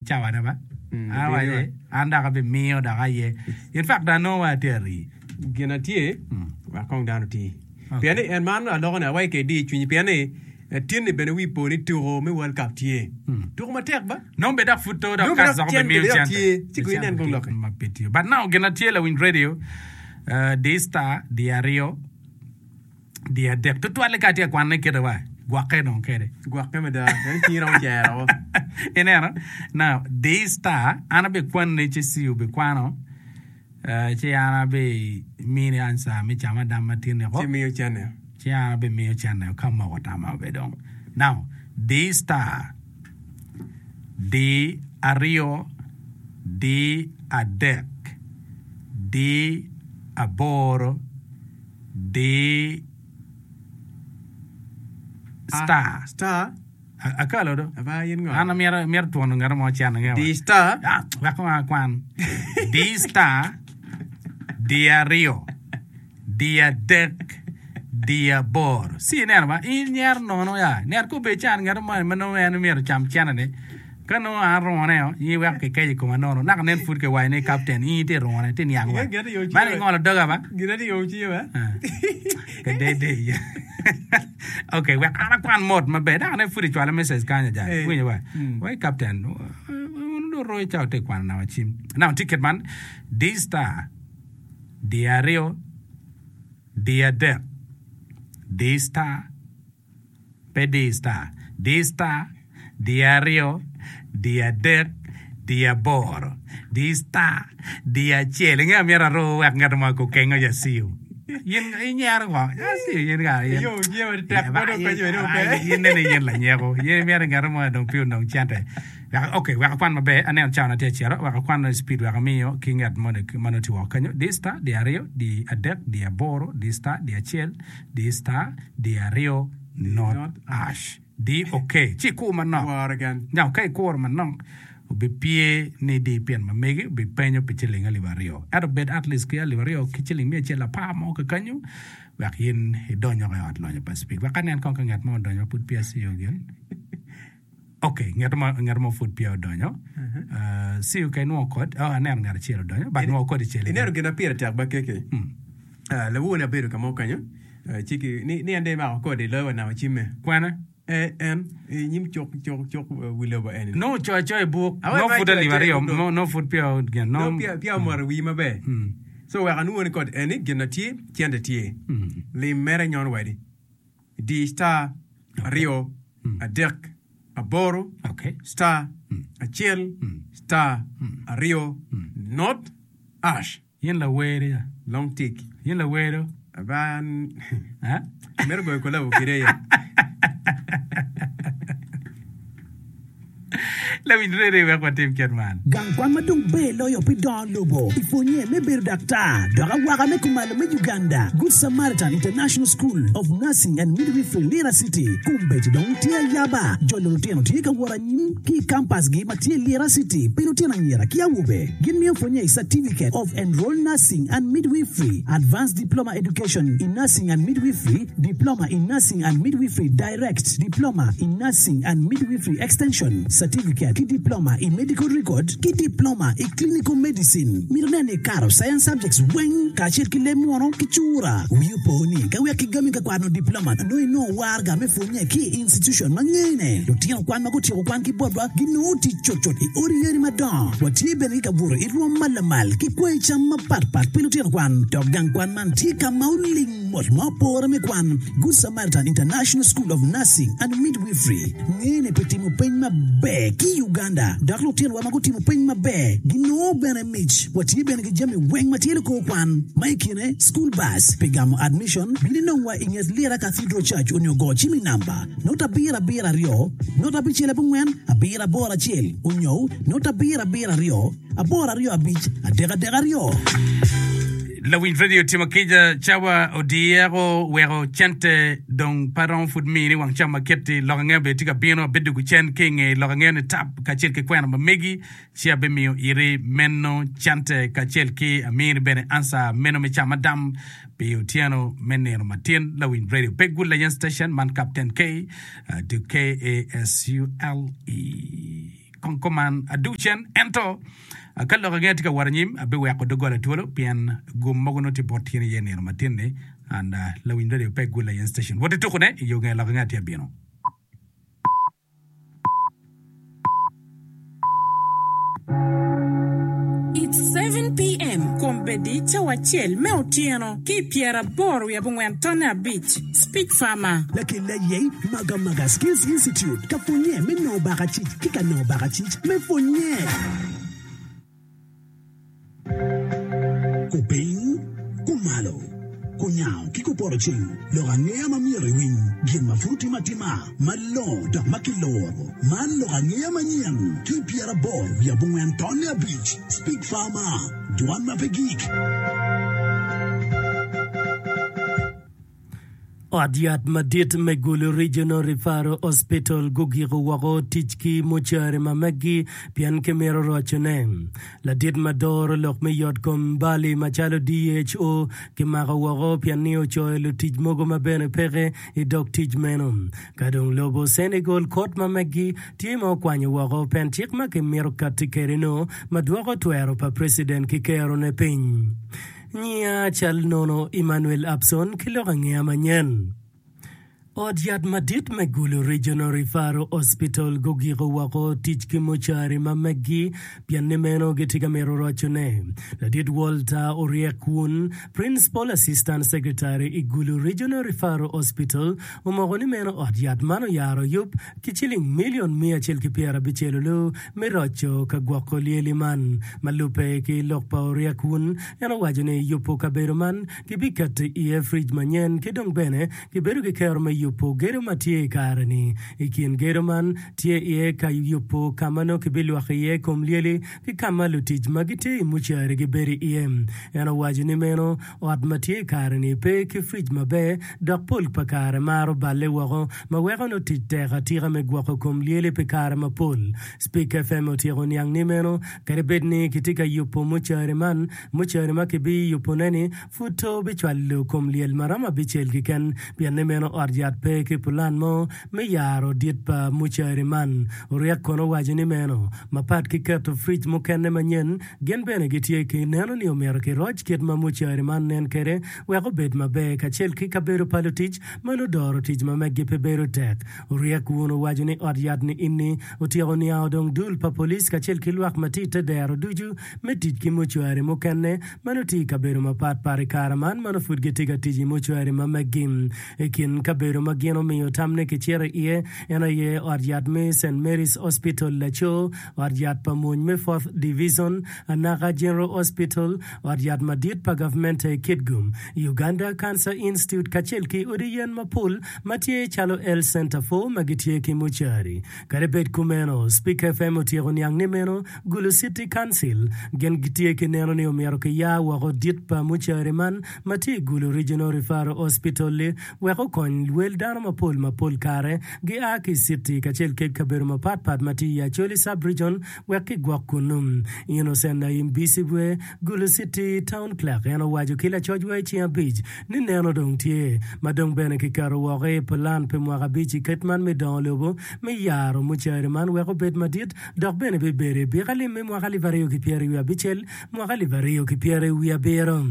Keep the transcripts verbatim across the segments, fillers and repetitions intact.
Cawane ba. Mm, An obino awaco, an dok abimiyo dok aye. In fact, dong anongo wa atye ari. Gin atye, wek kong dano oti. Okay. Pien ni en man aloko ni awaci ke idi cwinyi pien ni eh, tin-ni bene wi po ni tuko me World Cup tye. Tuko matek ba? Nongo bed dok pud to dok Nongo bed kas dok dok cente obimiyo bed dok cente. tye. Ci kong inen kong lokke. Ma pe tiyo. But now gin atye lawiny radio, eh, di star, di aryo, di adek. Tutwalle ka atye ka kwanne kite wa, gwokke dong kede. Gwokke mada, en cingi romo cero. Ineno? Now, di star, an abikwanni ci C obikwano, eh, ci an abimini answer me camo adam matin ni Ci miyo cene. Ci an abimiyo cene ka moko tama obe dong. Now, di star, di aryo, di adek, di aboro, di star. Star. A- Akalo do. Aba in ngo? An amyero amyero twono ngat mo cene ngewa. Di star. Ah, wek wa kwan. Di star, di aryo, di adek, di aboro. Si ineno ba, in nyero nono ya. Ner ko be can ngat mo ma nongo en myero cam cene ni. Ka nongo an rune o, in wek kikeco i koma nono. Naka nen pud kiwaco ni captain, in itye rune, itye niang wa. Gin atye Man ingolo doga ba? Gin atye yomo cinge ba? Ah. Kadede. Okay, wek an akwan mot maber. Dok ane pud icwalo message kany aja. Eh. Winyo ba? Mm. Wai captain, un do royo ca ote kwano nawa cim. Now ticket man, D star, D aryo, D adek, D star, pe D star, D star, D aryo, D adek, D aboro, D star, D acel. Inge amyero aru wek ngat mo kukengo ja siu. Yin inyero ko. Ja siu yin ka yin. Yo, cinge ma tek ma dong penyo bene ope. Yin nene yin lanyeko. Yin imyero ngat mo dong pi onong cente. Wek okay, wek akwan maber. Aneno cawa na tye acito. Wek akwan speed wek amiyo ki ngat mo ma nongo tye woko kanyo. D star, D aryo, D adek, D aboro, D star, D acel, D star, D aryo, not ash. D okay. Ci ikur manok. Woro gan. Now, ka ikuro manok, obipye ni di pien ma megi obipenyo pi ciling alip aryo. Ento bed at least ki alip aryo ki ciling miya acel apar mo kakanyo, wek in idony oko i ot lonyo pa speed. Wek anen kong ka ngat mo odonyo ma pud peya siyo gin. Okay, ngat mo ngat mo pud peya odonyo. Uh, siyo ka inwongo kod, oh, aneno ngat acel odonyo, but nwongo kod icel. Ineno gin ma pire tek ba keke. Ah, lawoni abedo ka mo kanyo. Ah, ci ki ni ni en dong imako kodi iloyo wa namo cimme. Kwene? Eh, en i nyim cuk cuk cuk eh, wi lobo eni. Nongo ocoyo acoya i buk, Awe nongo ma pud acoyo alip acoya i aryo, buk dong. nongo nongo pud peya gin, Nongo nongo peya peya omoto i wii maber. So wek anwongo ni kod eni gin na tye cente tye. Lim mere nyon wadi. Di star aryo adek aboro Okay. star acel star aryo not ash. Yin lawer ya. Long tik. Yin lawero. Aba an Ha? amito goyo kolabo kede ya. Lawiny rere wek watim kit man. Gang kwan ma dong ber loyo pi dongo lobo i pwonye me bedo daktar dok awaka me kumalo me Uganda Good Samaritan International School of Nursing and Midwifery Lira City kombeddi dong tye ayaba jolo lutino tye ka wot anyim ki i kampasgi ma tye Lira City pi lutino anyira ki awobe gin miyo pwonye i Certificate of Enrolled Nursing and Midwifery Advanced Diploma Education in Nursing and Midwifery Diploma in Nursing and Midwifery Direct Diploma in Nursing and Midwifery Extension Certificate ki Diploma in Medical Record ki Diploma i Clinical Medicine mito neno ni karo science subjects weng kacel ki leb muno ki cura wi opo ni ka wek kigami ka kwano diploma nongo inongo warga me pwonye ki i institution ma ngene lutino kwan ma gutyeko kwan ki botwa ginongo tic cutcut i odi yadi madongo watye bene ki kabuto i rwom ma lamal ki kwayi cam mapatpat pi lutino kwan dok gang kwan man tye ka ma oling mot ma opore me kwan Good Samaritan International School of Nursing and Midwifery ngene pi timo peny maber ki i Uganda dok lutinowa ma gutimo peny maber ginongo bene mic watye bene ki jami weng ma tye likor kwan ma i kine school bus pi gamo admission bin inongwa i nget Lira Cathedral Church onyo go cim i namba not abiro abiro aryo not abicel abongwen abiro aboro acel onyo not abiro abiro aryo aboro aryo abic adek adek aryo. Lawiny radio timo kica cawa odiyeko weko cente dong pe romo pud mini wang cam ma keti lok ange bene tye ka bino abedo cen ki inge lok ange ni tap kacel ki kwena ma megi ci abimiyo iri meno cente kacel ki amini bene ansa meno me cam adam pi otyeno me nino matin lawiny radio pe gul layen station man Captain K uh, to K A S U L E. Kong kuman adug cen ento ka lok angeya tye ka wot anyim abiweko doggola twolo pien gum mogo nongo tye bot tyen iye nino matin-ni and lawiny radio pe gul aye station wot itukune i yo nge lok angeya tye abino. It's seven PM Kombeddi cawa acel me otyeno ki i pyeraboro wiye abongwen tonne abic Speech Farmer. Lakel aye Magamaga Skills Institute ka pwonye me nongo bakacic ki ka nongo bakacic me pwonye. Kupiny, kumalo, kunyango ki kupoto ceng, lok angeya ma myero iwiny, gin ma pud otimo atima, malongo dok ma kiloro. Man lok angeya manyen ki pyeraboro wiye abongwen tonne abic. Speak Farmer, dwan ma pe gik. Ot yat madit me Gulu Regional Referral Hospital gugiko woko tic ki mucari ma meggi pien kimito rocone. Ladit ma doro lok me yotkom Bali macalo D H O kimako woko pien ni ocoyo lutic mogo ma bene peke i dog tic meno. Ka dong lobo Senegal kot ma meggi tye ma okwanyo woko pen cik ma kimito katti kwede-nu ma dwoko twero pa preciden ki kerone piny. Nyiya cal nono Emmanuel Abson ki lok angeya manyen. Ot yat madit me Gulu Regional Referral Hospital gugiko woko tic ki mucari ma meggi pien ni meno gitye ka mito rocone. Ladit Walter Oryek Wun, Principal Assistant Secretary i Gulu Regional Referral Hospital omoko ni meno ot yat man oyaro yub ki ciling milion miya acel ki pyerabicel olu me roco ka gwoko lyeli man. Ma lubbe ki lok pa Oryek Wun, en owaco ni yubo kabedo man kibiketo iye frij manyen ki dong bene kibedo ki kero me yubo gedo ma tye i kare-ni. I kin gedo man tye iye ka yubo ka ma nongo kibilwoko iye kom lyeli ki ka ma lutic ma gitye i mucari gibedo iye. En owaco ni meno ot ma tye i kare-ni pe ki frij maber dok pol pa kare maro balle woko ma weko nongo tic tek atika me gwoko kom lyeli pi kare mapol. Spik F M otyeko niang ni meno kadi bed ni kitye ka yubo mucari man, mucari ma kibiyubone-ni pud to bicwalo kom lyel ma romo abicel keken pien ni meno ot yat pe ki pulan mo me yaro dit pa mucari man. Oryek kono owaco ni meno mapat ki keto frij mukene manyen, gin bene gitye ki neno ni omyero kiroc kit ma mucari man nen kwede wek obed maber kacel ki kabedo pa lutic ma nongo doro tic ma meggi pe bedo tek. Oryek wun owaco ni ot yat ni inni otyeko niango dong dul pa police kacel ki lwak ma tye i te dero ducu me tic ki mucwari mukene ma nongo tye i kabedo mapat pat i kare man ma nongo pud gitye ka tic i mucwari ma meggi. I kin kabedo ma gin omiyo tam ni kicito iye en aye ot yat me Saint Mary's Hospital Laco, ot yat pa mony me Fourth Division, Anaka General Hospital, ot yat madit pa gavmente i Kitgum, Uganda Cancer Institute kacel ki odi yen mapol ma tye calo Health Center four ma gitye ki mucari. Kadi bed kumeno, Speak F M otyeko niang ni meno Gulu City Council gin gitye ki neno ni omyero kiyar woko dit pa mucari man ma tye i Gulu Regional Referral Hospital-li wek okony wel dano mapol ma pol kare gia ki i citi kacel ki kabedo mapat pat ma tye i Acholi Sub-Region wek kigwok kunnu. Innocent Naim Bisibwe, Gulu City Town Clerk en owaco ki lacoc wa i ceng abic ni neno dong tye ma dong bene kiketo woko i pulan pi mwaka abic i kit man me dongo lobo me yaro mucari man wek obed madit dok bene bibedo i bika lim me mwaka alip aryo ki pyeri wiye abicel mwaka alip aryo ki pyeri wiye abiro.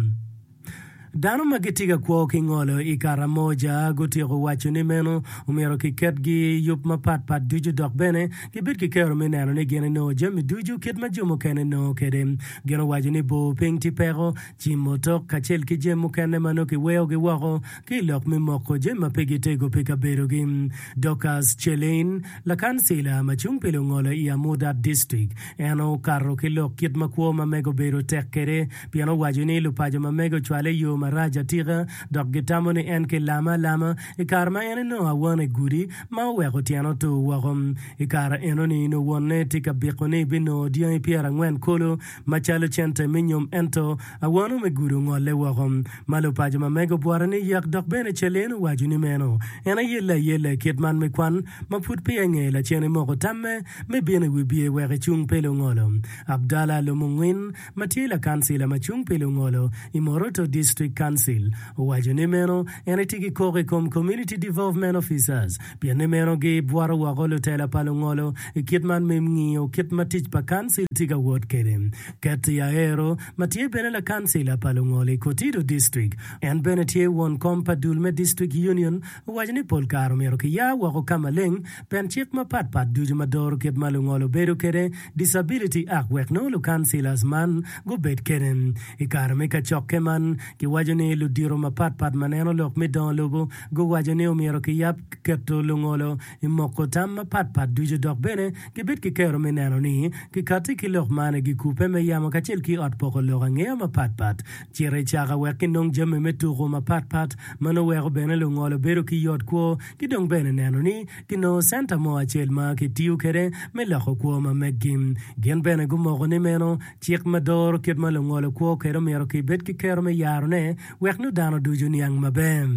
Dano ma gitye ka kwo ki ngolo i Karamoja gutyeko waco ni meno omyero kiketgi i yub mapatpat ducu dok bene gibed ki kero me neno ni gin enongo jami ducu kit ma jo mukene nongo kwede. Gin owaco ni bor piny tye peko, cimo tok kacel ki jami mukene ma nongo kiweyogi woko ki i lok me moko jami ma pe gitego pi kabedogi. Dorcas Chelein, lakancila ma cung pi lungolo i Amudat District, en okato ki lok kit ma kwo ma mege obedo tek kwede pien owaco ni lupaco ma mege ocwale i yo marac atika dok gitamo ni en kilame alama i kare ma en enongo awano i gudi ma oweko tyene otur woko. I kare enoni nongo wonne tye ka biko ni ebinongo dyangi pyerangwen kulu macalo cente me nyom ento awano me gudi ongolle woko ma lupaco ma mege obwote ni yek dok bene Celine owaco ni meno en ayelle ayella i kit man me kwan ma pud peya inge lacen emoko tamme me bino i wi bye wek ecung pe lungolo. Abdallah Lumungwin ma tye lakancila ma cung pi lungolo i Moroto District District Council owaco ni meno en etye ki koko i kom Community Development Officers pien ni meno gibwoto woko lutela pa lungolo i kit man me ngiyo kit ma tic pa kancil tye ka wot kwede. Ketty Aero ma tye bene lakancila pa lungolo i Kotido District en bene tye won kom pa dul me District Union owaco ni pol kare omyero kiya woko ka maleng pen cik mapat pat ducu ma doro kit ma lungolo bedo kwede, Disability Act, wek nongo lukancilas man gubed kwede. I kare me kacokke man, kiwaco ni ludito mapat pat ma neno lok me dongo lobo guwaco ni omyero kiyab keto lungolo i moko tam mapat pat ducu dok bene gibed ki kero me neno ni kikati ki lok man i gikupe me yamo kacel ki ot poko lok angeya mapat pat. Cito i caka wek kinong jami me tuko mapat pat ma nongo weko bene lungolo bedo ki yot kwo ki dong bene neno ni kinongo centa mo acel ma kitiyo kwede me loko kwo ma meggi. Gin bene gumoko ni meno cik ma doro kit ma lungolo kwo kwede omyero kibed ki kero me yarone wek nongo dano ducu niang maber.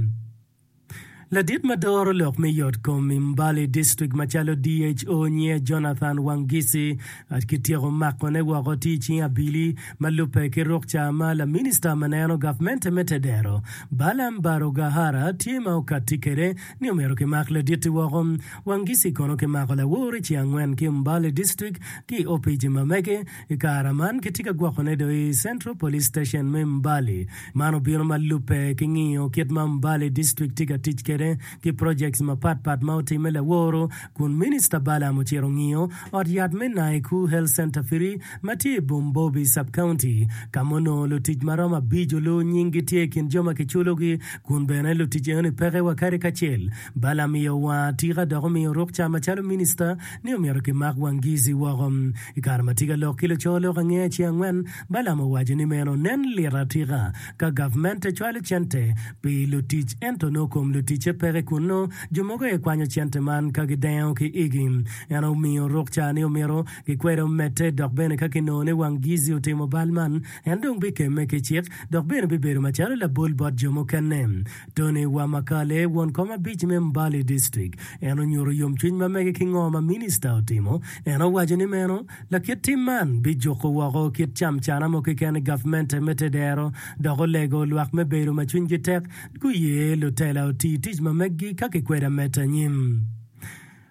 Ladit ma doro lok me yot kom i Mbale District macalo D H O nyinge Jonathan Wangisi kityeko makone woko tye i cing abili ma lubbe ki rukca ma laminista ma neno gavmente me tedero Balaam Barugahara tye ma okatti kwede ni omyero kimak ladit-ti woko. Wangisi kono kimako lawor i ceng angwen ki Mbale District ki i opici ma mege i kare man kitye ka gwokone dong i Central Police Station me Mbale. Man obino ma lubbe ki ngiyo kit ma Mbale District tye ka tic kwede ki projects mapatpat ma otimme laworo kun Minista Balaam ocito ngiyo ot yat me Naiku Health Centre Firi ma tye i Bumbobi Sub-County ka ma onongo lutic ma romo abic olu nyinggi tye i kin jo ma kiculogi kun bene lutic enoni peke wa kadi kacel. Balaam iye owang atika dok omiyo rukca macalo minista ni omyero kimak Wangisi woko. I kare ma tye ka lok ki luco lok angeya i ceng angwen, Balaam owaco ni meno nen lit atika ka gavmente cwalo cente pi lutic ento nongo kom luticce peke kunnu, jo mogo aye kwanyo cente man ka gidengo ki igi. En omiyo rukca ni omyero gikwede omedde dok bene ka kinongo ni Wangisi otimo bal man, en dong bikemme ki cik dok bene bibedo macalo labol bot jo mukene. Tony Wamakale, won kom abic me Mbale District, en onyuto yomcwiny ma mege ki ngo ma minista otimo. En owaco ni meno lakit tim man bijuko woko kit camcana mo keken i gavmente me tedero dok olego lwak me bedo ma cwinygi tek guye lutela oti tic ma meggi ka kikweda medde anyim.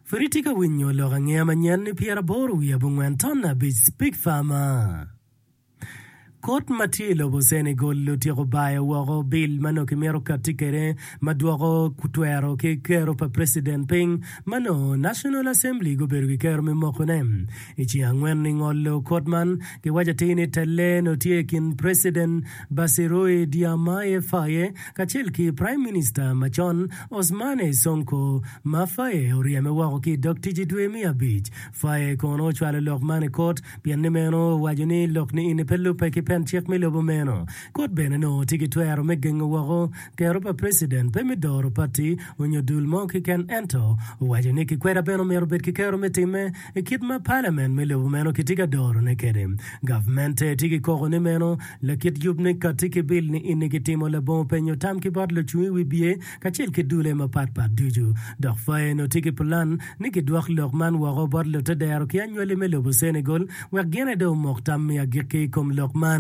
Pud itye ka winyo lok angeya manyen ni pyeraboro wiye abongwen ton abic Speak Farmer. Kot ma tye i lobo Senegal otyeko bayo woko bil ma nongo kimito katti kwede ma dwoko twero ki kero pa preciden piny ma nongo National Assembly gubedo ki kero me mokone. I ceng angwen i ngolo kot man, kiwaco atir ni telle nongo tye i kin Preciden Bassirou Diomaye Faye kacel ki Prime Minister macon Ousmane Sonko ma Faye oryeme woko ki i dog tic i dwe me abic. Faye kono ocwalo lok man i kot pien ni meno owaco ni lok ni ini pe lubbe ki pen cik me lobo meno. Kot bene nongo tye ki twero me gengo woko kero pa preciden pe me doro pati onyo dul mo keken ento owaco ni kikweda bene omyero obed ki kero me timme i kit ma parliament me lobo meno kitye ka dorone kwede. Gavmente tye ki koko ni meno lakit yub ni kati ki bil ni ini kitimo labongo penyo tam ki bot lucung i wi bye kacel ki dule mapatpat ducu. Dok Faye nongo tye ki pulan ni kidwok lok man woko bot lutedero ki anywali me lobo Senegal wek gin aye dong omok tam me agikki i kom lok man.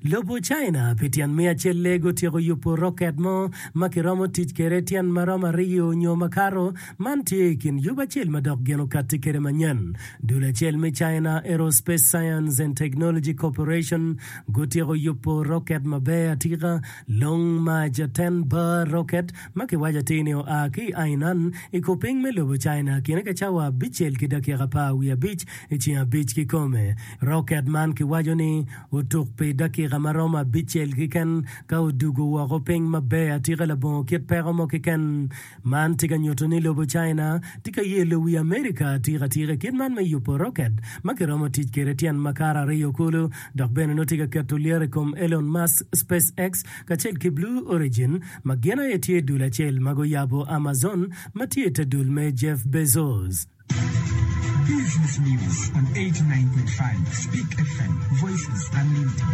Lobo China pi tyen miya acel-le gutyeko yubo roket mo ma kiromo tic kwede tyen ma romo aryo nyo makato. Man tye i kin yub acel ma dok gin okatti kwede manyen. Dul acel me China Aerospace Science and Technology Corporation gutyeko yubo roket maber atika, Long March ten Bar Rocket, ma kiwaco atir ni oa ki i Hainan i kupiny me lobo China kine ka cawa abicel ki dakika apar wiye abic i ceng abic kikome. Roket man kiwaco ni otuk pi dakika ma romo abicel keken ka odugo woko piny maber atika labongo kit peko mo keken. Man tye ka nyuto ni lobo China tye ka yelo wi Amerika atika atika i kit man me yubo roket ma kiromo tic kwede tyen makato aryo kulu dok bene nongo tye ka keto lyeto i kom Elon Musk SpaceX kacel ki Blue Origin ma gin aye tye dul acel ma guyabo Amazon ma tye i te dul me Jeff Bezos. Business News on eighty-nine point five Speak F M, Voices Unlimited.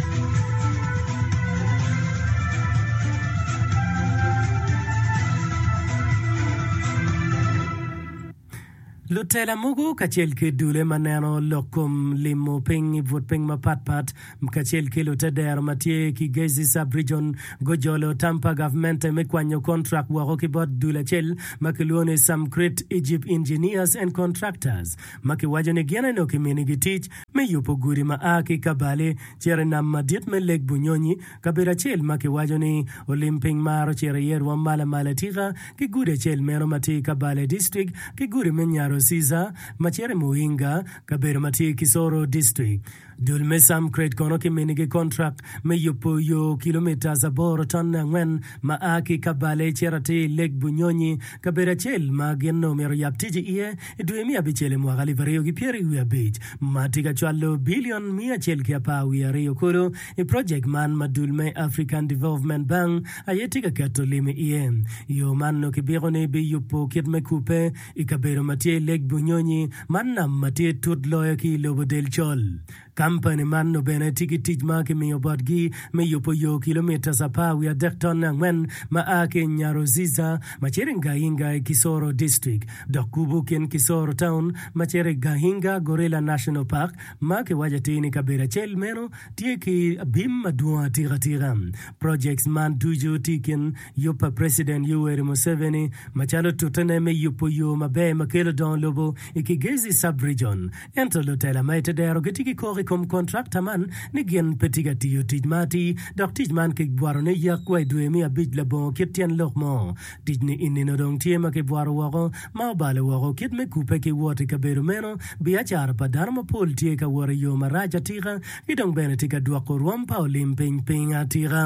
Lutela mogo kacel ki dule ma neno lok kom limo piny i but piny mapatpat kacel ki lutedero ma tye ki Gezi Sub-Region gujolo tam pa gavmente me kwanyo kontrak woko ki bot dul acel ma kilwongo ni Samcrete Egypt Engineers and Contractors ma kiwaco ni gin eno kiminigi tic me yubo gudi ma a ki Kabale cito i nam madit me Lake Bunyonyi, kabedo acel ma kiwaco ni olim piny maro cito iye rwom malo amalo atika ki gudi acel meno ma tye i Kabale District ki gudi me Nyarociza ma cito i Muhinga, kabedo ma tye i Kisoro District. Dul me Samcrete kono kiminigi kontrak me yubo yo kilomitas aboro tonne angwen ma a ki Kabale cito atir i Lake Bunyonyi, kabedo acel ma gin nongo myero oyab tic iye i dwe me abicel i mwaka alip aryo ki pyeraryo wiye abic ma tye ka cwalo bilion miya acel ki apar wiye aryo kulu i projek man ma dul me African Development Bank aye tye ka keto lim iye. Yo man nongo kibiko ni biyubo kit me kubbe i kabedo ma tye i Lake Bunyonyi man nam ma tye tut loyo ki i lobo del col. Kampani man nongo bene tye ki tic ma kimiyo botgi me yubo yo kilomitas apar wiye adek tonne angwen ma a ki i Nyaruziza ma cito i Gahinga i Kisoro District dok kubo kin Kisoro Town ma cito i Gahinga Gorilla National Park ma kiwaco atir ni kabedo acel meno tye ki bim madwong atika tika. Projects man ducu tye i kin yub pa President Yoweri Museveni macalo tutene me yubo yo maber ma kelo dongo lobo i Kigezi Sub-Region. Ento lutela ma i te dero gitye ki koko i kom kontrakta man ni gin pe tye ka tiyo tic ma atir dok tic man kibwoto ni yak wa i dwe me abic labongo kit tyen lok mo. Tic ni enino dong tye ma kibwoto woko ma obalo woko kit me kubbe ki wot i kabedo meno. Biacara pa dano mapol tye ka wot i yo marac atika ki dong bene tye ka dwoko rwom pa olim piny piny atika.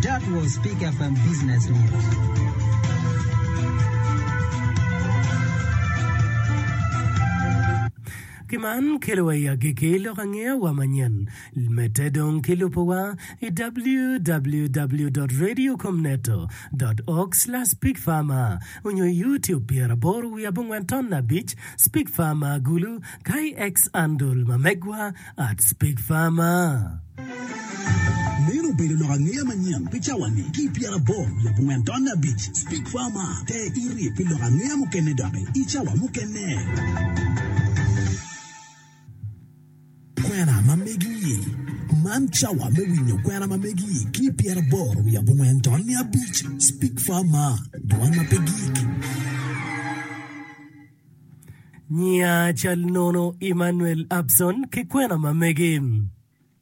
That was Speak F M Business News. Ki man kelowa i agikki lok angeya wa manyen. Medde dong ki lubowa i www dot radiocomneto dot org slash speakfarmer onyo i YouTube pyeraboro wiye abongwen ton abic Speak Farmer Gulu ka i X handle ma megwa at Speak Farmer. Meno obedo lok angeya manyen pi cawa-ni ki i pyeraboro wiye abongwen tonne abic. Speak Farmer, Te iri pi lok angeya mukene doki i cawa mukene. Kwena ma megi. Man cawa me winyo kwena ma megi ki i pyeraboro wiye abongwen tonne abic. Speak Farmer, Dwan ma pe gik. Nyiya cal nono Emmanuel Abson ki kwena ma megi.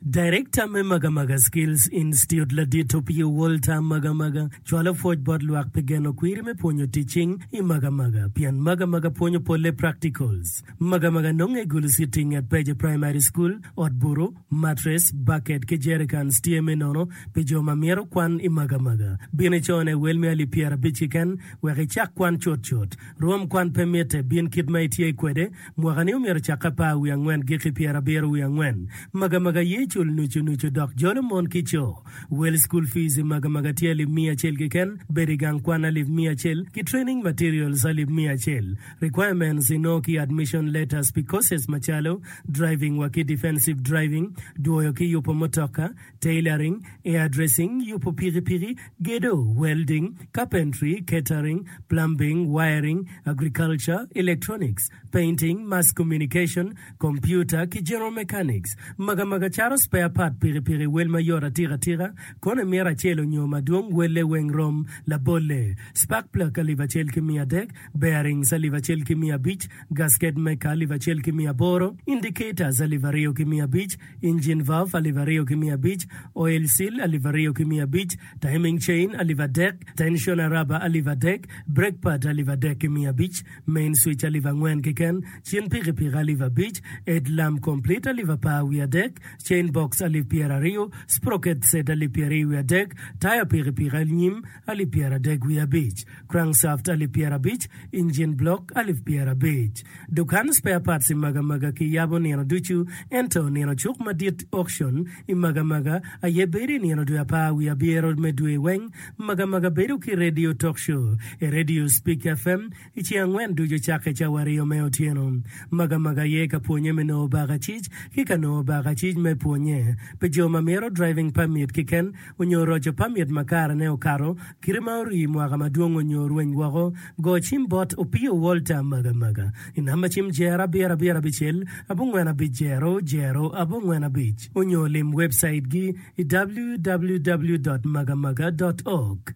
Director me Magamaga Skills Institute Ladit Opio Walter Magamaga cwalo pwoc bot lwak pi geno kwiri me pwonyo tic cing i Magamaga pien Magamaga pwonyo polle practicals. Magamaga nonge i Gulu City nget Peje Primary School, ot buru, mattress, bucket ki jerrycans tye me nono pi jo ma myero kwan i Magamaga. Bin icone wel me alip pyerabic keken wek icak kwan cutcut. Rwom kwan pe mitte, bin kit ma itye kwede. Mwaka-ni omyero ocakke apar wiye angwen giki pyerabiro wiye angwen. Magamaga ye cul nucu nucu dok jolo mon ki co. Wel school fees i Magamaga tye alip miya acel keken, bedo i gang kwan alip miya acel, ki training materials alip miya acel. Requirements inongo ki admission letters pi courses macalo, driving wa ki defensive driving, dwoyo ki yubo mutoka, tailoring, hairdressing, yubo pikipiki, gedo, welding, carpentry, catering, plumbing, wiring, agriculture, electronics, painting, mass communication, computer, ki general mechanics. Magamaga caro spare part pikipiki wel mayot atika tika, kono imito acel onyo madwong welle weng rom labolle. Spark plug alip acel ki miya adek, bearings alip acel ki miya abic, gasket maker alip acel ki miya aboro, indicators alip aryo ki miya abic, engine valve alip aryo ki miya abic, oil seal alip aryo ki miya abic, timing chain alip adek, tensioner rubber alip adek, brake pad alip adek ki miya abic, main switch alip angwen keken, cin pikipiki alip abic, headlamp complete alip apar wiye adek, chain box alip pyeraryo, sprocket set alip pyeraryo wiye adek, taya pikipiki anyim alip pyeradek wiye abic, crankshaft alip pyerabic, engine block alip pyerabic. Dukan spare parts i Magamaga kiyabo nino ducu, ento nino cuk madit auction i Magamaga aye bedo i nino dwe apar wiye abiro me dwe weng. Magamaga bedo ki radio talk show i Radio Speak F M i ceng angwen ducu cakke cawa aryo me otyeno. Magamaga aye ka pwonye me nongo bakacic ki ka nongo bakacic me pwonye. pwonye. Pi jo ma mito driving permit keken onyo roco permit ma karene okato, kite ma orii mwaka madwong onyo orweny woko, go cim bot Opio Walter Magamaga i namba cim jero abiro abiro abicel abongwen abic jero jero abongwen abic onyo lim webcait gi i www dot magamaga dot org.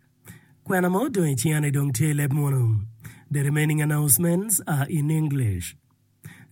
Kwena ma odong i cinga ni dong tye i leb munu. The remaining announcements are in English.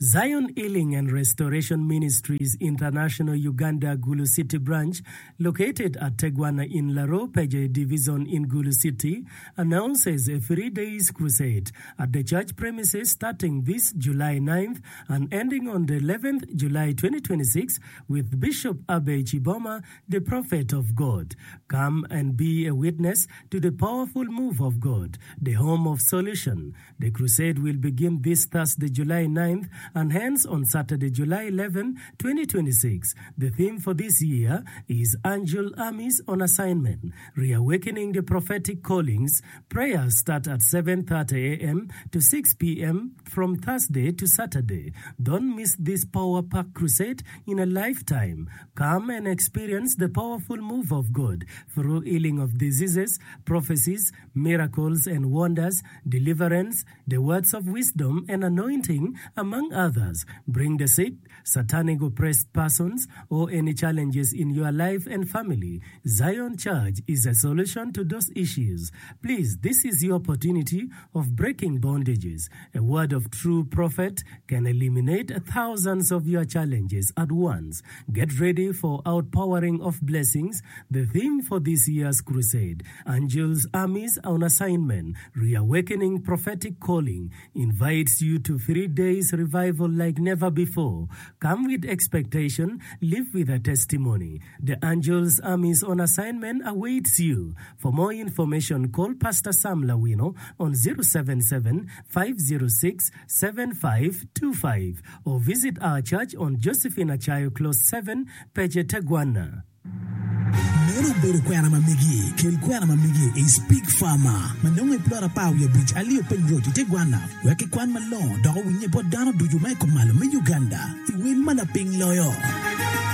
Zion Healing and Restoration Ministries International Uganda Gulu City Branch located at Tegwana in Laro Peje Division in Gulu City announces a three days crusade at the church premises starting this July ninth and ending on the eleventh July twenty twenty-six with Bishop Abbey Chiboma the prophet of God. Come and be a witness to the powerful move of God, the home of solution. The crusade will begin this Thursday, July ninth and ends on Saturday, July eleven, twenty twenty-six. The theme for this year is Angel Armies on Assignment, Reawakening the Prophetic Callings. Prayers start at seven thirty A M to six P M from Thursday to Saturday. Don't miss this power pack crusade in a lifetime. Come and experience the powerful move of God through healing of diseases, prophecies, miracles and wonders, deliverance, the words of wisdom and anointing, among others. Bring the sick, satanic oppressed persons, or any challenges in your life and family. Zion Church is a solution to those issues. Please, this is your opportunity of breaking bondages. A word of true prophet can eliminate thousands of your challenges at once. Get ready for outpouring of blessings. The theme for this year's crusade, Angels Armies on Assignment, Reawakening Prophetic Calling, invites you to three days revival like never before. Come with expectation, live with a testimony. The Angels Armies on Assignment awaits you. For more information, call Pastor Sam Lawino on zero seven seven, five zero six, seven five two five or visit our church on Josephine Achayo Close seven, Peje Tegwana. Meno obedo kwena ma megi. Kel kwena ma megi i Speak Farmer ma nongo i plot apar wiye abic Aliyo Peny Road i Tegwana wek kikwan malongo dok owinye bot dano ducu ma i kumalo me Uganda i wel ma lapiny loyo.